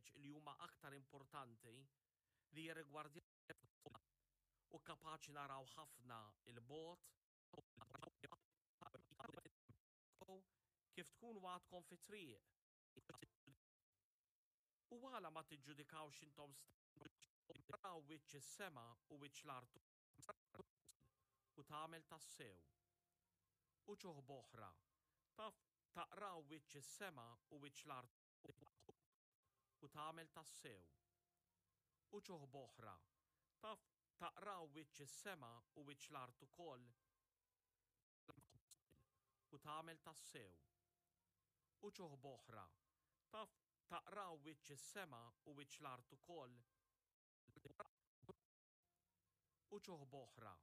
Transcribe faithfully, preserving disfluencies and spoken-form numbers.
ħwejjeġ li huma aktar importanti li jirrigwardjaw u kapaċi naraw ħafna 'l bogħod kif tkunu għadkom fit-triq. U għala ma tiġġudikawx intom taraw wiċċ is-sema u wiċċ l-art u tagħmel tassew. Uċuħ b'oħra, taf taqraw wiċċ is-sema u wiċċ l-art u tagħmel tassew. Uċuħ b'oħra, taf taqraw wiċċ is-sema u wiċċ l-art ukoll u tagħmel tassew. Uċuħ b'oħra, taf taqraw wiċċ is-sema u wiċċ l-art ukoll uċuħ b'oħra,